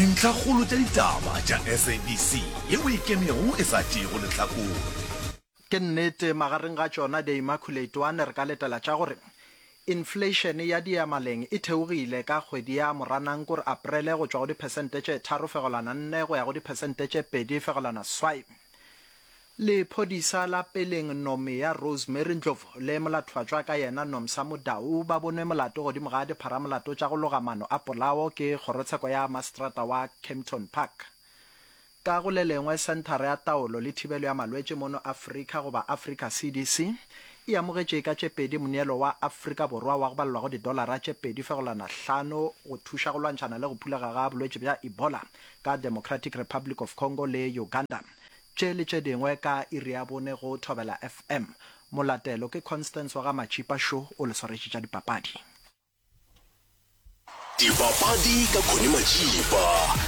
Dintlhakgolo tša ditaba tša SABC yeo e ikemego e sa tšeego lehlakore. Ke nnete, magareng ga tšona The Immaculate One re ka letela tša gore infleišene ya diyamaleng e theogile ka kgwedi ya Moranang kore Aprele go tšwa go diphesente tše 3.4 go ya go diphesente tše 2.7. Lephodisa la peleng Nomia Rosemary Ndlovu le molathofatšwa ka yena Nomsa Mudau ba bonwe molato godimo ga dipharamolato tša go loga maano a polao ke kgorotsheko ya maseterata wa Kempton Park. Ka go le lengwe, Senthara ya Taolo le Thibelo ya Malwetši mono Afrika goba Africa CDC e amogetše ka tše pedi moneelo wa Afrika Borwa wa go balelwa go didolara tše 2.5 go thuša go lwantšhana le go phulega ga bolwetši bja Ebola ka Democratic Republic of Congo le Uganda. Tše le tše dingwe ka iri ya bone go Thobela FM. Molatelo ke Constance wa ga Matšipa Šo o le swaretše tša dipapadi. Dipapadi ka Connie Matšipa,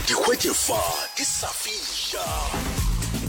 di hwetše fa di sa fiša.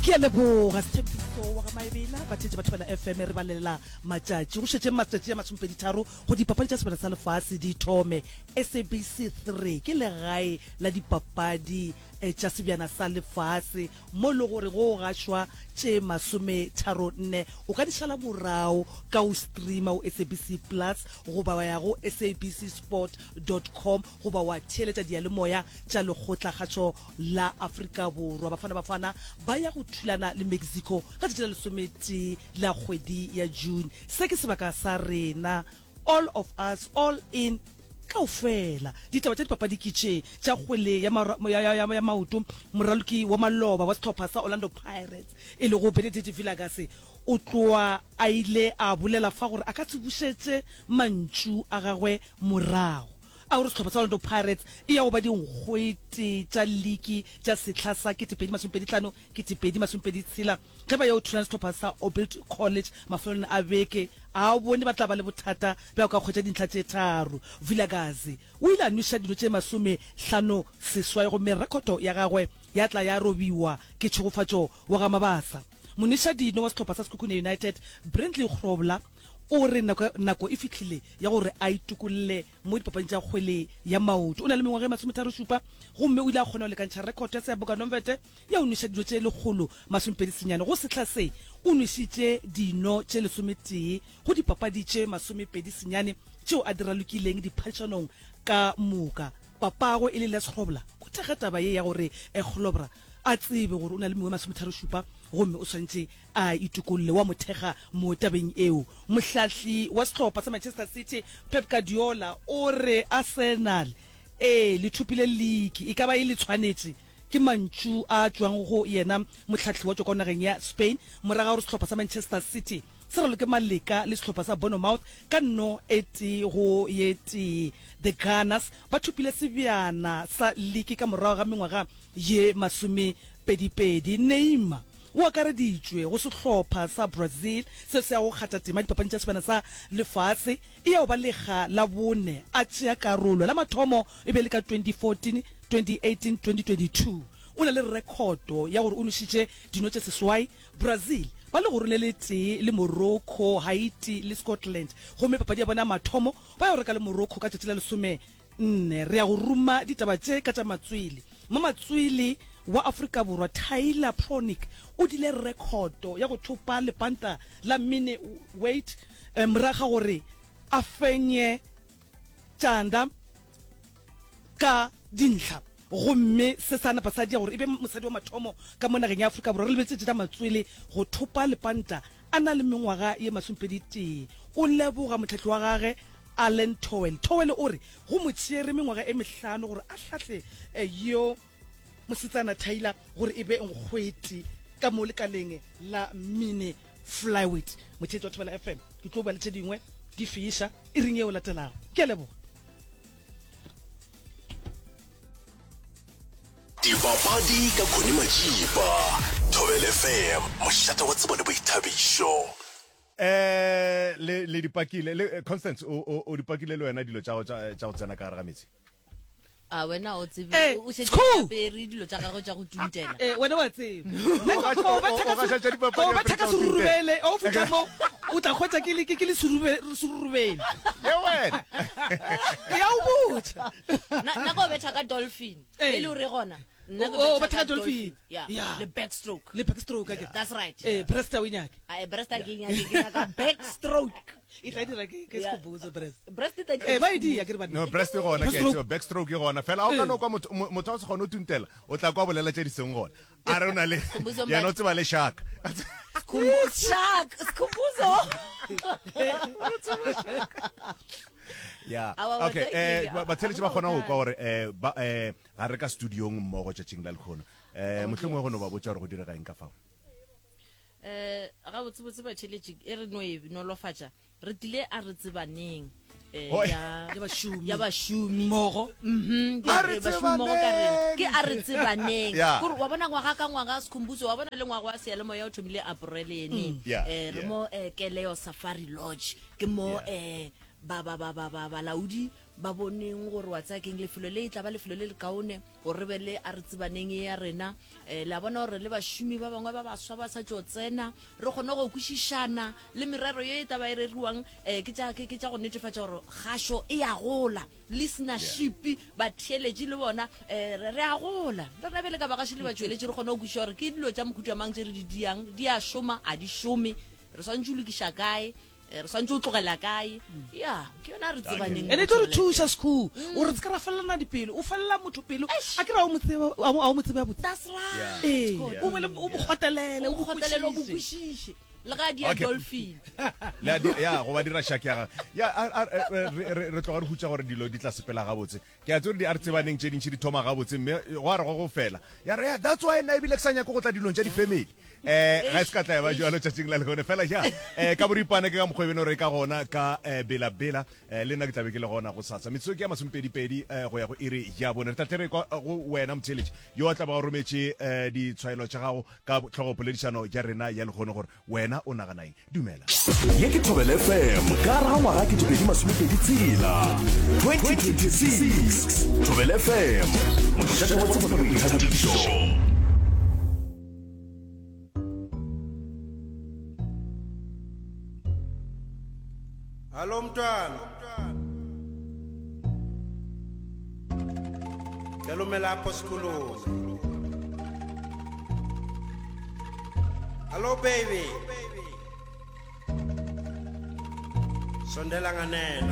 Ke a leboga Sthembiso wa ga Maebela. Batheetši ba Thobela FM re balela matšatši. Go šetše matšatši a masomepeditharo go dipapadi tša Sebjana sa Lefase di thome. SABC 3 ke legae la dipapadi tša Sebjana sa Lefase mo e le gore go gašwa tše masometharonne. O ka di šala morago ka go streama go SABC Plus goba wa ya go sabcsport dot com goba wa theeletša diyalemoya tša Lekgotlakgašo la Afrika Borwa. Bafana Bafana ba ya go thulana le Mexico ka tšatši la lesometee la kgwedi ya June. Se ke sebaka sa rena All of us, all in, kaofela. Ditaba tša dipapadi ke tše, tša kgwele ya, ya, ya, ya, ya maoto, moraloki wa maloba wa sehlopha sa Orlando Pirates e lego Benedict Vilakazi o tloa a ile a bolela fa gore a ka se bušetše mantšu a gagwe morago a gore sehlopha sa Orlando Pirates e ya go ba dinkgwete tša liki tša sehla sa 2025 2026. Ge ba yo thulana sehlopha sa Orbit College mafelelong a beke, a bone ba tla ba le bothata bja go ka hwetša dintlha tše tharo. Vilakazi o ile a nweša dino tše masomehlano seswai gomme rekhoto ya gagwe ya tla ya robiwa ke Tšhegofatšo wa ga Mabasa. Monwešadino wa sehlopha sa Sekhukhune United, Brandley Grobler, o re nako, nako e fihlile ya gore a itokolle mo dipapading tša kgwele ya maoto. O na le mengwaga e masometharošupa gomme o ile a kgona go lekantšha rekhoto ya Seaboka Nomvete ya go nweša dino tše lekgolo senyane. Go sehla se, o nwešitše dino tše lesometee go dipapadi tše masomepedi senyane tšeo a di ralokileng diphadišanong ka moka. Papagwe e le Les Grobler o thekga taba ye ya gore Grobler a tsebe gore o na le mengwe e masometharošupa gomme o swanetše a itokolle. Wa mo thekga mo tabeng eo. Mohlahli wa sehlopha sa Manchester City, Pep Guardiola o re Arsenal e le thopile liki, e ka ba e le tshwanetše. Ke mantšu a tšwago go yena mohlahli wa tšwa kwa nageng ya Spain morago ga gore sehlopha sa Manchester City se raloke maleka le sehlopha sa Bournemouth ka nno e tee go ye tee. The Gunners ba thopile sebjana sa liki ka morago ga mengwaga ye masomepedipedi. Neymar o akareditšwe go sehlopha sa Brazil seo se yago go kgatha tema dipapading tša sebjana sa lefase. E ya go ba lekga la bone a tšea karolo. La mathomo e be e le ka 2014, 2018, 2022. O na le rekhoto ya gore o nwešitše dino tše seswai. Brazil ba legorong le letee le Morocco, Haiti le Scotland gomme papadi ya bona ya mathomo ba ya go reka le Morocco ka tšatši la lesomenne. Re ya go ruma ditaba tše ka tša matswele. Mamatswele wa Afrika Borwa Tyler Pronic o dile rekhoto ya go thopa lepanta la mini weight morago ga gore a fenye Tšanda ka dintlha gomme se sa napa sa dia gore e be mosadi wa mathomo ka mo nageng ya Afrika Borwa re lebeletse tša matswele go thopa lepanta a na le mengwaga ye masomepedi-tee. O leboga mohlahli wa gage Alan Towell. Towell o re go mo tšere mengwaga e mehlano gore a hlahle yo mosetsana Tyler gore e be nkgwete ka mo lekaleng la mini flyweight. Motheetši wa Thobela FM, ke tlo bua le tše dingwe di fiša iring yeo latelago. Ke a leboga. Dipapadi ka Connie Majiba, Thobela FM, mošate wa tsebo le boithabišo. Eh le le di pakile le Constance o o o di pakile le wena dilo tša go tša tša go tsena ka gare ga metsi. A wena o tsebe Eh, o šetše Skhoo! o apere dilo tša gagwe tša go tuntela. Eh, wena wa tseba. O gaša- Ko o- betha o ka gaša se- tša dipapadi ko a betha ka fetša go serurubele, o fihla mo. O tla hwetša ke le ke ke le serube serurubele. Ye wena. Ke ya o botša. Nna nna ko betha ka dolphin. Ee. E le gore gona. Nna ke O- o betha betha ka dolphin. Yeah. Yeah. Le backstroke. Le backstroke akere. That's right. Eh, breast a o e nyake. A breast a ke e nyake ke nyaka backstroke. E tla dira ke ke Yeah. Skhumbuzo breast. Breast e tla Eh, ba e dia ke re banna. No, breast e gona ke a e Backstroke. tseba, backstroke e gona. Fela a o ka no kwa motho mo- motho a o se kgone go tuntela, o tla kwa bolela tše di seng gona. A re o na le Skhumbuzo yena o Mbatha. tseba le shark. Shark, Skhumbuzo. Yeah. Awa, wa Okay, tla eh ke- ba- batheletši ba kgona go kwa gore eh ba eh ga re ka studiong mmogo tšatšing la lekgono. Eh mohlomongwe go no ba botša gore go direga eng ka fao. Eh gabotsebotse batheletši e re no e nolofatša re tlile a re tsebaneng eh, Hoi. ya Ya bašomi. ya bašomi Mmogo. Mhm, ke A re re bašomi mmogo ka rena. Ke a re tsebaneng Yeah. kore wa bona ngwaga ka ngwaga Skhumbuzo wa bona le ngwaga wa seyalemoya o thomile April ene Yeah, eh re yeah. mo eh, Keleo Safari Lodge ke mo Yeah. eh ba ba ba ba ba balaodi ba boneng gore wa tsaya keng lefelo le e tla ba lefelo le lekaone gore re be le a re tsebaneng e ya rena um le a bona gore le bašomi ba bangwe ba baswa ba sa tšo tsena re kgone go kwešišana le merero ye e taba e reriwang um ke tša ke tša go netefatša gore kgašo e a gola listenership batheeletši le bona um re a gola re rena bjale ka bagaši le batšweletši re kgone go kwešiša gore ke dilo tša mohuta mang tše re di diang di a šoma a di šome re swanetše go lokiša kae Eh, re swantse o tlogela kae ya ke yona re tsebaneng ene e tlo re thuša sekhu gore re se ka ra felelana dipelo o felela motho pelo a ke re a o mo tsebe a o mo tsebe gabotse that's right ee o be le o mo kgotelele o o mo kgotelele o mo kwešiše kwešiše le ga di ya Okay. dolphin Le a di- ya go ba dira shak ya gagwe ya a- a- re- re re- re tloga re hutša gore dilo di tla sepela gabotse ke a tsere di a re tsebaneng tše dintši di thoma gabotse mme go a re go go fela ya re ya that's why nna ebile ke sa nyake go tla dilong tša di-family um ga e se ka tla e ba jalo tšatšing la lekone fela ja um ka boripana ke ka mokgwa e beno re ka gona ka um bela-bela um le nna ke tlabe ke le gona go sasa metsotso ke ya masomepedipedi um go ya go iri ya bone re tla tle re kwa go wena motheeletši yo a tla ba o rometše um ditshwaelo tša gago ka tlhogopoledišano ya rena ya lekgono gore Wena o nagana eng? Dumela. Ye ke Thobela FM ka gare ga ngwaga 2026, 2026. Thobela FM, mošate wa tsebo le boithabišo. Hallo mntwana. Cela ume lapho sikhulume. Hello baby. Sondela nganeno.